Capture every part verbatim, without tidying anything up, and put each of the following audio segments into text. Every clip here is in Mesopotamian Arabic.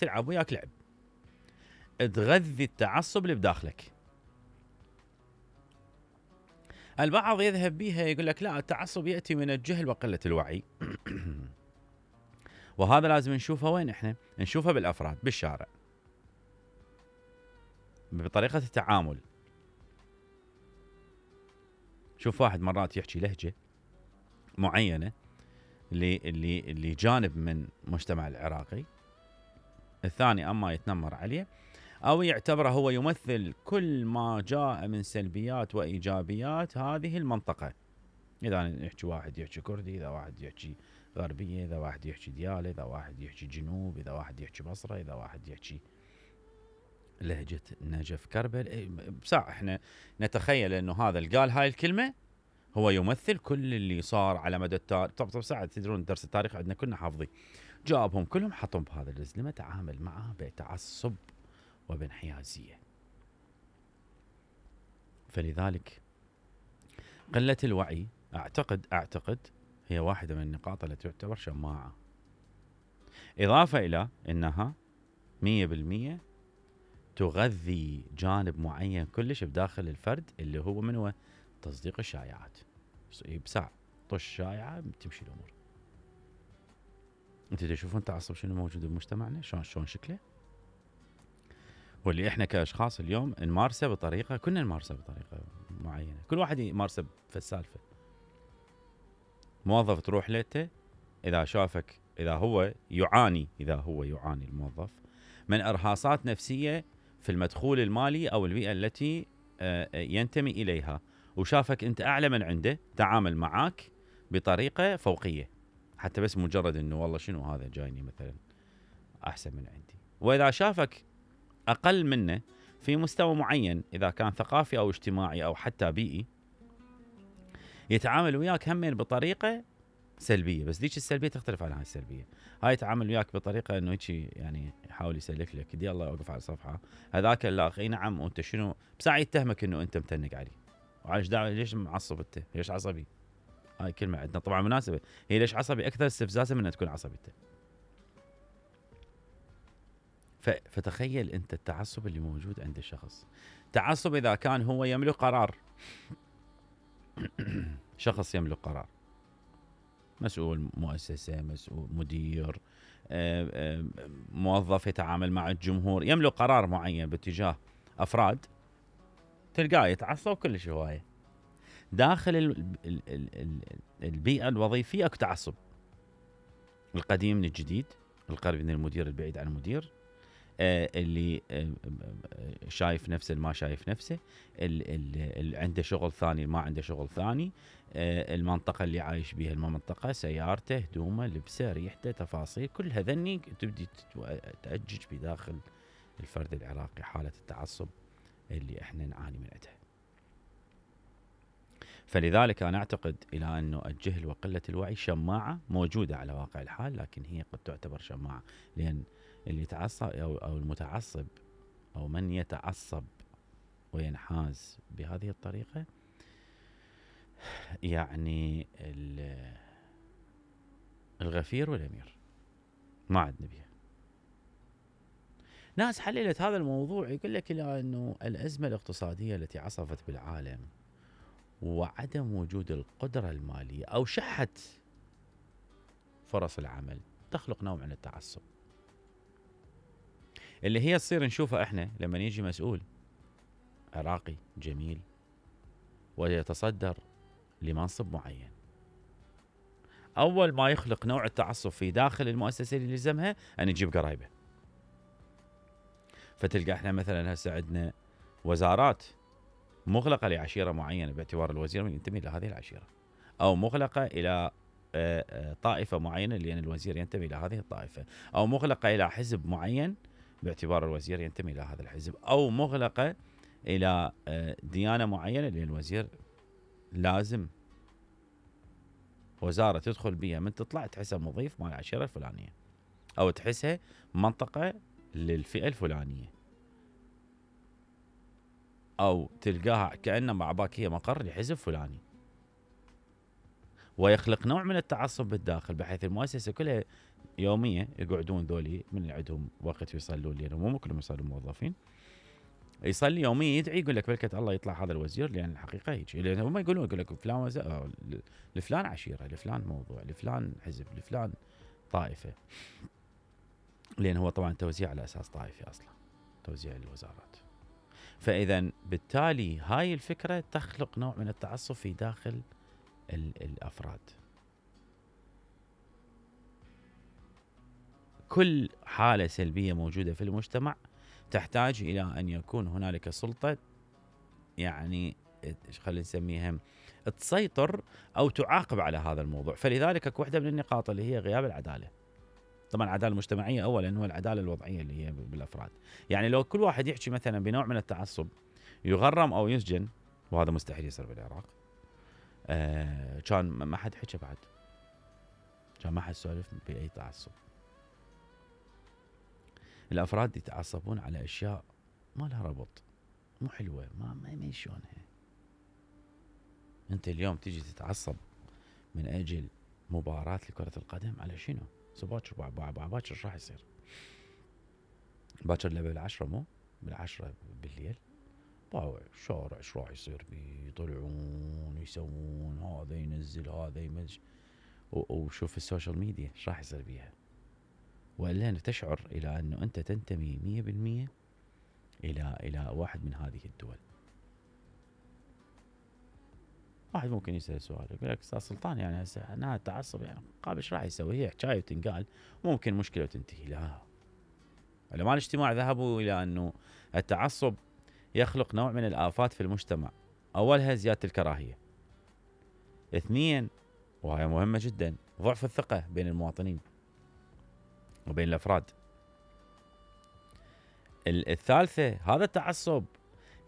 تلعب وياك لعب، تغذي التعصب اللي بداخلك. البعض يذهب بها يقول لك لا، التعصب يأتي من الجهل وقلة الوعي. وهذا لازم نشوفه وين؟ احنا نشوفه بالافراد بالشارع، بطريقة التعامل. شوف واحد مرات يحكي لهجة معينة اللي اللي اللي جانب من المجتمع العراقي، الثاني اما يتنمر عليه او يعتبره هو يمثل كل ما جاء من سلبيات وايجابيات هذه المنطقة. اذا يحكي واحد يحكي كردي، اذا واحد يحكي غربية، اذا واحد يحكي ديالى، اذا واحد يحكي جنوب، اذا واحد يحكي بصرة، اذا واحد يحكي لهجة نجف كربل. بساعة احنا نتخيل انه هذا اللي قال هاي الكلمة هو يمثل كل اللي صار على مدى التاريخ. طب طب ساعة تدرون درس التاريخ عندنا كنا حافظين، جابهم كلهم حطهم بهذا الزلمة، تعامل معه بتعصب وبانحيازية. فلذلك قلة الوعي اعتقد اعتقد هي واحدة من النقاط التي تعتبر شماعة، اضافة الى انها مية بالمية تغذي جانب معين كلش بداخل الفرد، اللي هو من هو؟ تصديق الشائعات. بساعة طش شائعة تمشي الامور. انت تشوفون التعصب شنو موجود بمجتمعنا، شلون شلون شكله، واللي احنا كاشخاص اليوم نمارسه بطريقة، كنا نمارسه بطريقة معينة، كل واحد يمارسه في السالفة. موظف تروح لته اذا شافك، اذا هو يعاني اذا هو يعاني الموظف من ارهاصات نفسية في المدخول المالي او البيئة التي ينتمي اليها، وشافك انت اعلى من عنده، تعامل معاك بطريقة فوقية، حتى بس مجرد انه والله شنو هذا جايني مثلا احسن من عندي. واذا شافك اقل منه في مستوى معين، اذا كان ثقافي او اجتماعي او حتى بيئي، يتعامل وياك همين بطريقة سلبية. بس ذيك السلبية تختلف عن هاي السلبية. هاي يتعامل وياك بطريقة انه هيك يعني يحاول يسلك لك، دي الله اوقف على الصفحة، هذاك لا اي نعم وانت شنو، بساعة يتهمك انه انت متنق عليه. وعايش دعوة ليش معصب انت؟ ليش عصبي؟ هاي كلمة عندنا طبعا مناسبة، هي ليش عصبي اكثر استفزازا من ان تكون عصبي انت. فتخيل انت التعصب اللي موجود عند الشخص. تعصب اذا كان هو يملك قرار، شخص يملك قرار، مسؤول مؤسسة، مسؤول مدير، موظف يتعامل مع الجمهور، يملك قرار معين باتجاه أفراد، تلقاه يتعصب كلش هواية. داخل البيئة الوظيفية اكو تعصب، القديم من الجديد، القريب من المدير، البعيد عن المدير، اللي شايف نفسه ما شايف نفسه، اللي عنده شغل ثاني ما عنده شغل ثاني، المنطقة اللي عايش بها المنطقة، سيارته، هدومه، لبسه، ريحته، تفاصيل، كل هذني تبدي تأجج بداخل الفرد العراقي حالة التعصب اللي احنا نعاني من عندها. فلذلك أنا أعتقد إلى أنه الجهل وقلة الوعي شماعة موجودة على واقع الحال، لكن هي قد تعتبر شماعة، لأن اللي يتعصب أو, أو المتعصب أو من يتعصب وينحاز بهذه الطريقة، يعني الغفير والأمير ما عندنا بها. ناس حللت هذا الموضوع يقول لك إلى أنه الأزمة الاقتصادية التي عصفت بالعالم وعدم وجود القدرة المالية أو شحة فرص العمل تخلق نوع من التعصب، اللي هي تصير نشوفها احنا لما يجي مسؤول عراقي جميل ويتصدر لمنصب معين، اول ما يخلق نوع التعصب في داخل المؤسسة اللي يلزمها ان يجيب قرايبه. فتلقى احنا مثلا هسه عندنا وزارات مغلقة لعشيرة معينة باعتبار الوزير ينتمي الى هذه العشيرة، او مغلقة الى طائفة معينة لان الوزير ينتمي الى هذه الطائفة، او مغلقة الى حزب معين باعتبار الوزير ينتمي الى هذا الحزب، او مغلقة الى ديانة معينة لان الوزير لازم وزارة تدخل بها من تطلع تحسها مضيف مال العشيرة الفلانية، او تحسها منطقة للفئة الفلانية، او تلقاها كأنما عباك هي مقر لحزب فلاني، ويخلق نوع من التعصب بالداخل بحيث المؤسسة كلها يوميه يقعدون ذولي من اللي عندهم وقت يصلون، لان مو كلهم يصلون موظفين، يصلي يوميا يدعي يقول لك بركه الله يطلع هذا الوزير، لان الحقيقه هيك، لان هم يقولون يقول لك فلان وزير، لفلان عشيره، لفلان موضوع، لفلان حزب، لفلان طائفه، لان هو طبعا توزيع على اساس طائفي اصلا، توزيع الوزارات. فاذا بالتالي هاي الفكره تخلق نوع من التعصب في داخل الافراد. كل حاله سلبيه موجوده في المجتمع تحتاج الى ان يكون هنالك سلطه، يعني خلينا نسميها تسيطر او تعاقب على هذا الموضوع. فلذلك اكو واحده من النقاط اللي هي غياب العداله. طبعا العداله المجتمعيه اولا، هو العداله الوضعيه اللي هي بالافراد. يعني لو كل واحد يحكي مثلا بنوع من التعصب يغرم او يسجن، وهذا مستحيل يصير بالعراق، آه كان ما حد حكى بعد، كان ما حد سولف باي تعصب. الافراد يتعصبون على اشياء ما لها ربط، مو حلوه، ما ما يمشونها. انت اليوم تيجي تتعصب من اجل مباراه لكره القدم، على شنو؟ باكر باكر ايش راح يصير؟ باكر لعبه بالعشره، مو بالعشره بالليل، باوع الشارع ايش راح يصير بيه؟ يطلعون يسوون، هذا ينزل هذا يمج، وشوف السوشيال ميديا ايش راح يصير بيها. والا انك تشعر الى انه انت تنتمي مية بالمية الى الى واحد من هذه الدول. واحد ممكن يسال سؤال يقول لك استاذ سلطان، يعني هسه انا اتعصب يعني قابل ايش راح يسوي؟ هي حكايه وتنقال، ممكن مشكله وتنتهي. لا، علماء الاجتماع ذهبوا الى انه التعصب يخلق نوع من الآفات في المجتمع. اولها زياده الكراهيه. اثنين، وهي مهمه جدا، ضعف الثقه بين المواطنين وبين الافراد. الثالثه، هذا التعصب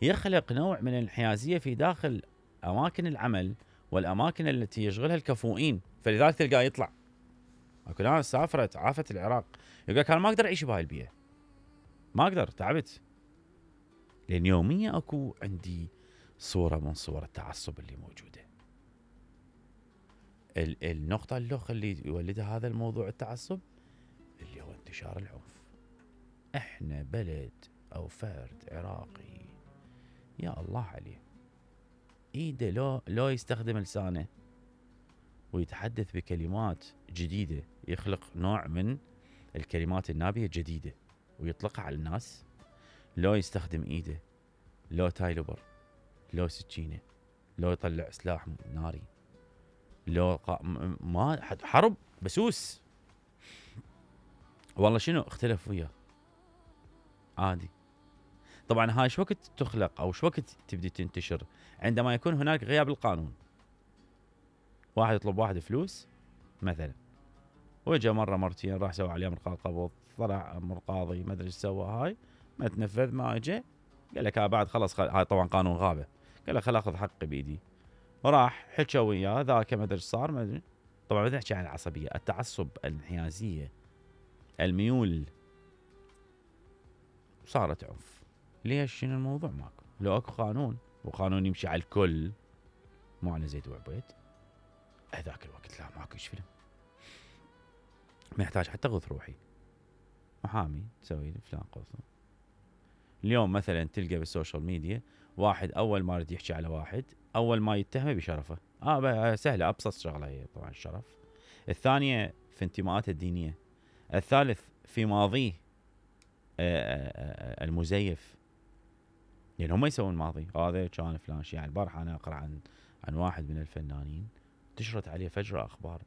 يخلق نوع من الانحيازيه في داخل اماكن العمل والاماكن التي يشغلها الكفؤين. فلذلك تلقاه يطلع، اكو ناس سافرت عافت العراق يقول لك انا ما اقدر اعيش بهاي البيئه، ما اقدر، تعبت. لان يوميا اكو عندي صوره من صور التعصب اللي موجوده. النقطه الاخرى اللي يولدها هذا الموضوع التعصب اللي هو انتشار العنف. احنا بلد او فرد عراقي يا الله عليه، ايده لو لو يستخدم لسانه ويتحدث بكلمات جديده، يخلق نوع من الكلمات النابيه الجديده ويطلقها على الناس، لو يستخدم ايده، لو تايلوبر، لو سكينه، لو يطلع سلاح ناري، لو قا... ما حرب بسوس، والله شنو اختلف وياه عادي. طبعا هاي شو وقت تخلق او شو وقت تبدي تنتشر؟ عندما يكون هناك غياب القانون. واحد يطلب واحد فلوس مثلا، وجا مره مرتين راح سوى عليه مرقاض قبض، طلع امر قاضي ما ادري ايش سوى، هاي ما تنفذ، ما اجى، قال لك ها بعد خلص خل... هاي طبعا قانون غابه، قال لك خل اخذ حقي بايدي، وراح حكى وياه ذاك ما ادري ايش صار، ما ادري. طبعا بدنا نحكي عن العصبيه، التعصب، الانحيازيه، الميول، صارت عنف. ليش؟ شنو الموضوع؟ ماكو. لو اكو قانون وقانون يمشي على الكل، مو على زيد وعبيد، هذاك الوقت لا ماكو ايش فيلم، ما يحتاج حتى غث روحي، محامي تسوي لي فلان قصه. اليوم مثلا تلقى بالسوشيال ميديا واحد اول ما يريد يحكي على واحد، اول ما يتهمه بشرفه، اه سهله، ابسط شغله هي طبعا الشرف. الثانيه في انتماءاته الدينيه. الثالث في ماضيه المزيف، يعني هم يسوون ماضي، هذا كان فلان شيء. يعني البارحه انا اقرا عن عن واحد من الفنانين انتشرت عليه فجره اخبار،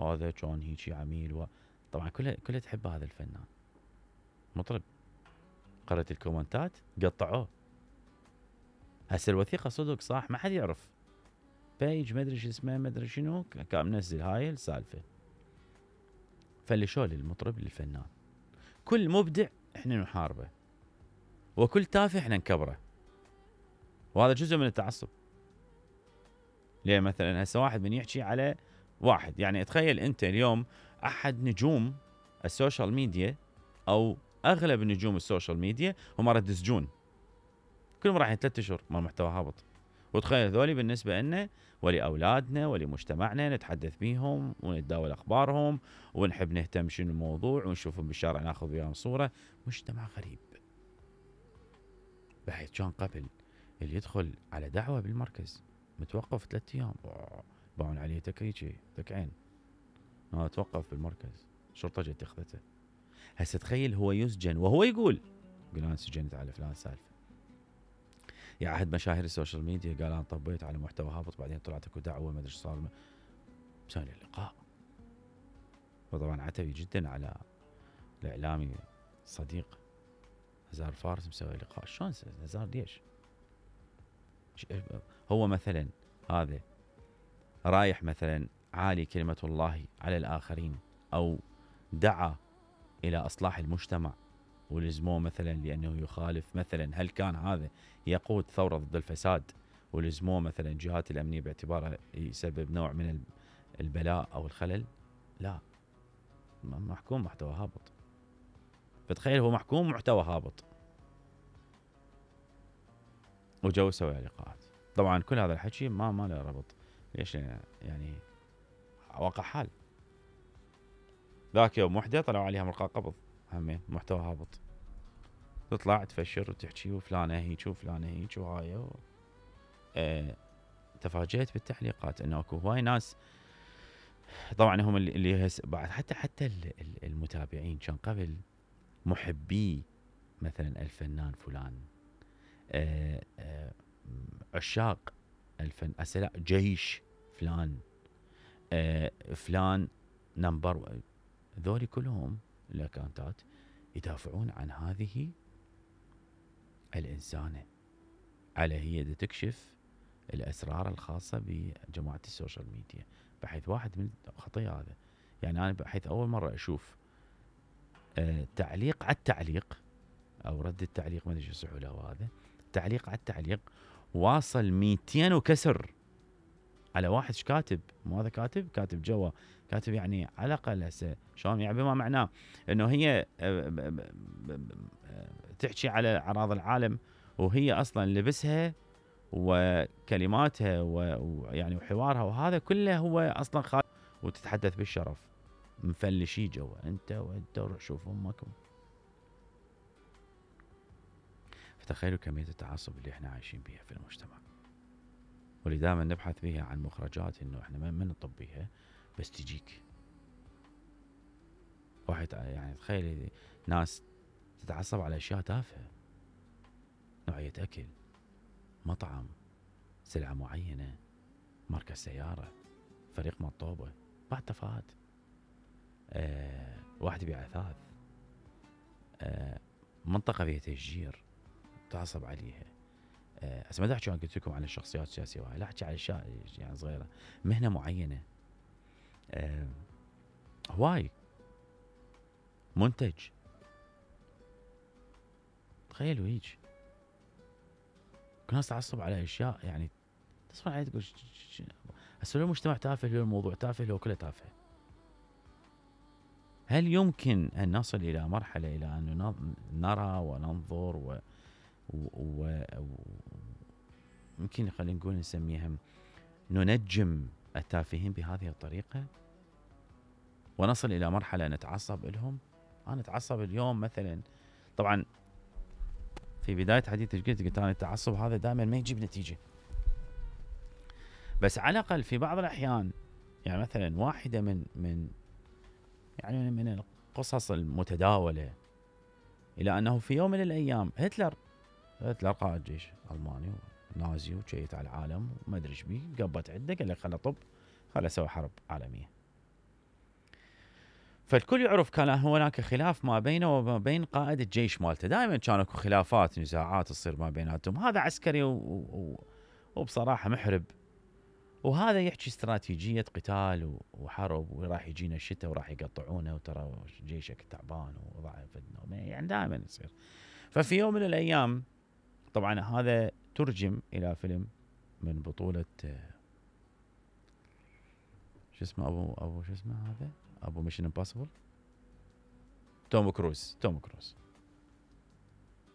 هذا كان هيك عميل، و... طبعا كلها كلها تحب هذا الفنان مطرب. قرأت الكومنتات قطعوه. هسه الوثيقه صدق صح، ما حد يعرف، بايج ما ادري شو اسمه، ما ادري شنو، كان منزل هاي السالفه. فاللي شو للمطرب للفنان، كل مبدع احنا نحاربه، وكل تافه احنا نكبره، وهذا جزء من التعصب. ليه مثلا هسه واحد من يحكي على واحد، يعني تخيل انت اليوم احد نجوم السوشيال ميديا او اغلب نجوم السوشيال ميديا هم رد سجون، كلهم رايحين ثلاث اشهر مال محتوى هابط، وتخيل هذولي بالنسبه لنا ولاولادنا ولمجتمعنا نتحدث بيهم ونتداول اخبارهم ونحب نهتم شنو الموضوع ونشوفهم بالشارع ناخذ وياهم صوره. مجتمع غريب بحيث كان قبل اللي يدخل على دعوه بالمركز متوقف ثلاث ايام باعون عليه تكريجي تكعين ما توقف بالمركز شرطه جت اخذته. هسه تخيل هو يسجن وهو يقول يقول انا سجنت على فلان سالفه. يعهد مشاهير السوشيال ميديا قال انا طبيت على محتوى هابط بعدين طلعت اكو دعوه ما ادري ايش صار مسوي له لقاء. وطبعا عتبي جدا على الاعلامي صديق نزار فارس مسوي لقاء. شلون نزار ليش؟ هو مثلا هذا رايح مثلا عالي كلمه الله على الاخرين او دعا الى اصلاح المجتمع ولزموه مثلا لانه يخالف مثلا، هل كان هذا يقود ثوره ضد الفساد ولزموه مثلا الجهات الامنيه باعتباره يسبب نوع من البلاء او الخلل؟ لا، محكوم محتوى هابط. فتخيل هو محكوم محتوى هابط وجو سوى لقاءات. طبعا كل هذا الحكي ما ما له ربط. ليش؟ يعني واقع حال. ذاك يوم وحده طلعوا عليها ملقا قبض همين محتوى هابط. تطلع تفشر وتحكي وفلانه هيك وفلانه هيك وهاي و... اه... تفاجأت بالتعليقات انه اكو هواي ناس طبعا هم اللي, اللي هس... بعد حتى حتى المتابعين كان قبل محبي مثلا الفنان فلان، اه... اه... عشاق الفن أسلا جيش فلان، اه... فلان نمبر، ذولي كلهم الاكونتات يدافعون عن هذه الإنسانة على هي تكشف الأسرار الخاصة بجماعة السوشيال ميديا. بحيث واحد من خطية هذا، يعني أنا بحيث أول مرة أشوف آه تعليق على التعليق أو رد التعليق ما أدري شو يصحوا له هذا، تعليق على التعليق واصل مئتين وكسر على واحد ايش كاتب؟ مو هذا كاتب كاتب جوا كاتب يعني على الاقل هسه شلون يعني بما معناه انه هي تحكي على اعراض العالم وهي اصلا لبسها وكلماتها ويعني وحوارها وهذا كله هو اصلا خالد وتتحدث بالشرف مفلشي جوا انت وانت وروح شوف امك. فتخيلوا كمية التعصب اللي احنا عايشين بيها في المجتمع، واللي دائما نبحث بها عن مخرجات انه احنا ما نطب بيها بس تجيك. واحد يعني تخيل ناس تتعصب على اشياء تافهه، نوعيه اكل، مطعم، سلعه معينه، ماركه سياره، فريق مطوبه، بعد تفاهات. أه واحد يبيع اثاث، أه منطقه فيها تشجير تعصب عليها. هسه ما احكي قلت لكم عن الشخصيات السياسيه وهاي، لا احكي على اشياء يعني صغيره، مهنه معينه، أه هواي منتج. تخيلوا هيك كل ناس تعصب على اشياء يعني تصفن عليه تقول هسه لو المجتمع تافه، لو الموضوع تافه، لو كله تافه. هل يمكن ان نصل الى مرحله الى ان نرى وننظر و, و... و... يمكن خلينا نقول نسميها ننجم التافهين بهذه الطريقة ونصل إلى مرحلة نتعصب لهم؟ أنا أتعصب اليوم مثلا، طبعا في بداية حديثي قلت قلت أنا التعصب هذا دائما ما يجيب نتيجة، بس على الأقل في بعض الأحيان يعني مثلا واحدة من من يعني من القصص المتداولة إلى أنه في يوم من الأيام هتلر هتلر قائد جيش ألماني نازي وشيت على العالم وما ادري ايش بيه، قبت عنده قال لك خله طب خله اسوي حرب عالميه. فالكل يعرف كان هناك خلاف ما بينه وما بين قائد الجيش مالته، دائما كان اكو خلافات نزاعات تصير ما بيناتهم، هذا عسكري و... و... وبصراحه محرب، وهذا يحكي استراتيجيه قتال وحرب وراح يجينا الشتاء وراح يقطعونه وترى جيشك تعبان وضعف يعني دائما يصير. ففي يوم من الايام طبعا هذا ترجم الى فيلم من بطولة شو اسمه ابو ابو شو اسمه هذا ابو ميشن امبوسيبل، توم كروز توم كروز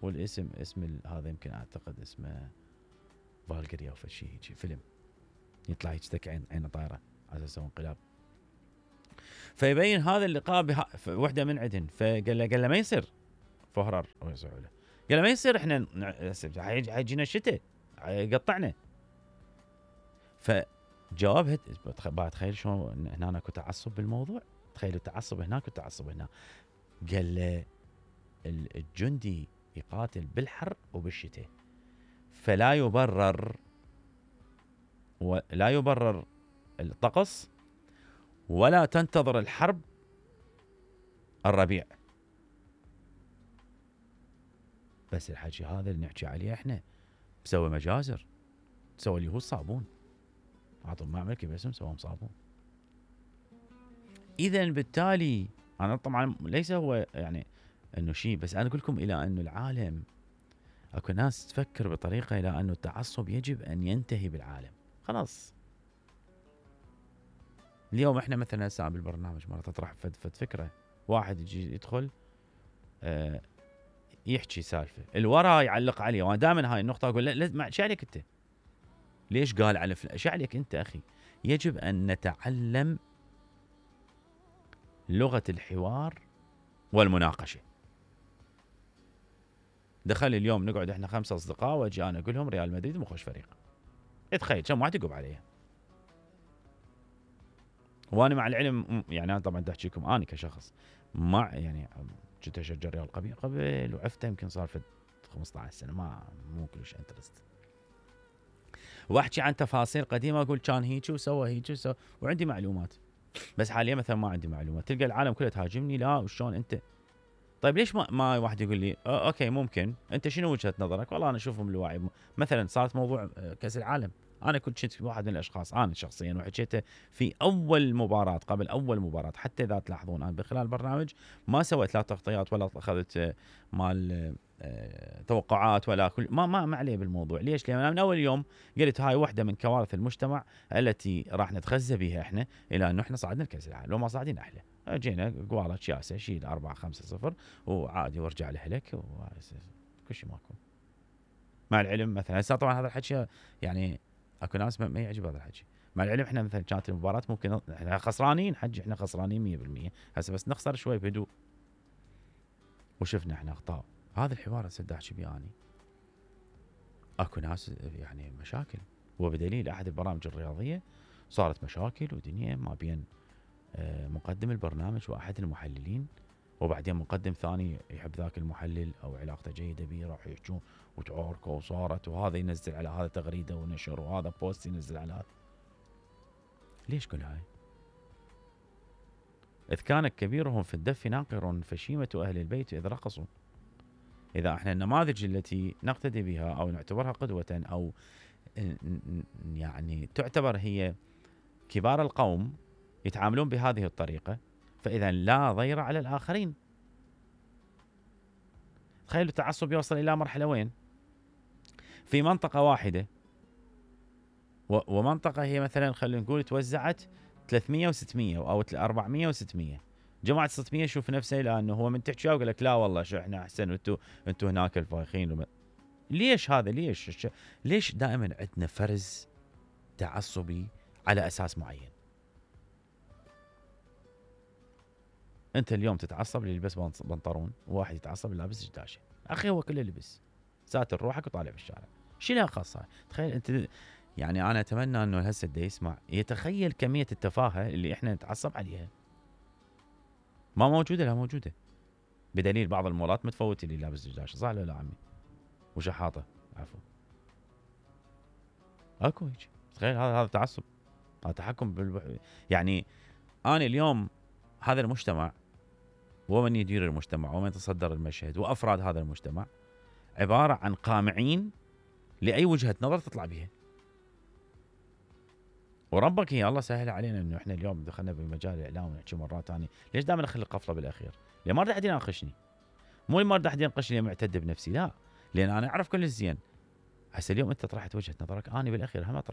والاسم اسم هذا يمكن اعتقد اسمه فالكيريا او شيء هيك فيلم يطلع هيك عين عينه طايره على اساس انقلاب. فيبين هذا اللقاء بها وحده من عندهن، فقال له قال له ما يصير فهرر او يسوي له، قال له ما يصير احنا حيجينا الشتاء يقطعنا. فجوابها بعد تخيل شلون هنا اكو تعصب بالموضوع، تخيلوا تعصب هناك وتعصب هنا. قال له الجندي يقاتل بالحر وبالشتاء، فلا يبرر ولا يبرر الطقس ولا تنتظر الحرب الربيع. بس الحكي هذا اللي نحكي عليه احنا مسوي مجازر، سوى اليهود صابون، عطوا معمل كيف اسم سوهم صابون. اذا بالتالي انا طبعا ليس هو يعني انه شيء، بس انا اقول لكم الى انه العالم اكو ناس تفكر بطريقه الى انه التعصب يجب ان ينتهي بالعالم خلاص. اليوم احنا مثلا هسه بالبرنامج مره تطرح فد فد فكره، واحد يجي يدخل آه يحكي سالفه الورا يعلق عليه، وانا دائما هاي النقطه اقول لا ايش عليك انت؟ ليش قال على فلان؟ ايش عليك انت اخي؟ يجب ان نتعلم لغه الحوار والمناقشه. دخل اليوم نقعد احنا خمسه اصدقاء واجي انا اقول لهم ريال مدريد مو خوش فريق، اتخيل كم واحد يقب عليها. وانا مع العلم يعني انا طبعا احكي لكم انا كشخص مع يعني كنت اشجع ريال قبل قبل وعفته يمكن صار في خمسة عشر سنه، ما مو كلش انترست. واحكي عن تفاصيل قديمه اقول كان هيك وسوى هيك وسوى وعندي معلومات، بس حاليا مثلا ما عندي معلومات. تلقى العالم كله تهاجمني، لا وشلون انت؟ طيب ليش ما ما واحد يقول لي اوكي ممكن انت شنو وجهه نظرك؟ والله انا اشوفهم الوعي. مثلا صارت موضوع كاس العالم، انا كنت كنت واحد من الاشخاص انا شخصيا وحكيته في اول مباراه قبل اول مباراه، حتى اذا تلاحظون انا بخلال البرنامج ما سويت لا تغطيات ولا اخذت مال توقعات ولا كل ما ما ما عليه بالموضوع. ليش؟ لان انا من اول يوم قلت هاي واحده من كوارث المجتمع التي راح نتغذى بها احنا الى انه احنا صعدنا لكاس العالم. لو ما صاعدين احلى، جينا قوالة شياسه شيل أربعة خمسة صفر وعادي وارجع لهلك وكل شيء ماكو. مع العلم مثلا هسه طبعا هذا الحكي يعني اكو ناس ما يعجب هذا الحكي. مع العلم احنا مثلا كانت المباراه ممكن احنا خسرانين حجي، احنا خسرانين مية بالمية هسه بس نخسر شوي بهدوء وشفنا احنا اخطاء. هذا الحوار هسه احكي بيه اني اكو ناس يعني مشاكل، وبدليل احد البرامج الرياضيه صارت مشاكل ودنيا ما بين مقدم البرنامج واحد المحللين، وبعدين مقدم ثاني يحب ذاك المحلل او علاقته جيده به راح يحجون وتعاركوا وصارت، وهذا ينزل على هذا تغريده ونشر وهذا بوست ينزل على هذا. ليش كل هاي؟ اذ كان كبيرهم في الدف ناقر فشيمه اهل البيت اذ رقصوا. اذا احنا النماذج التي نقتدي بها او نعتبرها قدوه او يعني تعتبر هي كبار القوم يتعاملون بهذه الطريقه، فاذا لا ضير على الاخرين. تخيلوا التعصب يوصل الى مرحله وين؟ في منطقه واحده ومنطقه هي مثلا خلينا نقول توزعت ثلاثمية وستمية او أربعمية وستمية، جماعه ستمية يشوف نفسه لانه هو من تحكي ويقول لك لا والله شو احنا احسن وانتم انتم هناك الفايخين وم... ليش هذا؟ ليش ليش دائما عندنا فرز تعصبي على اساس معين؟ انت اليوم تتعصب اللي يلبس بنطلون، وواحد يتعصب اللي لابس جداشه. اخي هو كله لبس، ساتر روحك وطالع في الشارع، شيلها خاصه. تخيل انت يعني انا اتمنى انه هسه اللي يسمع يتخيل كميه التفاهه اللي احنا نتعصب عليها ما موجوده. لا موجوده، بدليل بعض المولات متفوت اللي لابس جداشه، صح ولا لا عمي؟ وشحاطه عفوا اكو هيك. تخيل هذا هذا تعصب، هذا تحكم بالبح... يعني انا اليوم هذا المجتمع ومن يدير المجتمع ومن يتصدر المشهد وافراد هذا المجتمع عباره عن قامعين لاي وجهه نظر تطلع بها. وربك هي الله سهل علينا انه احنا اليوم دخلنا بمجال الاعلام ونحكي مرات ثانيه. ليش دائما اخلي القفله بالاخير؟ لان ما راح احد يناقشني، مو ما راح احد يناقشني معتد بنفسي، لا، لان انا اعرف كل زين. هسه اليوم انت طرحت وجهه نظرك، انا بالاخير هم اطرح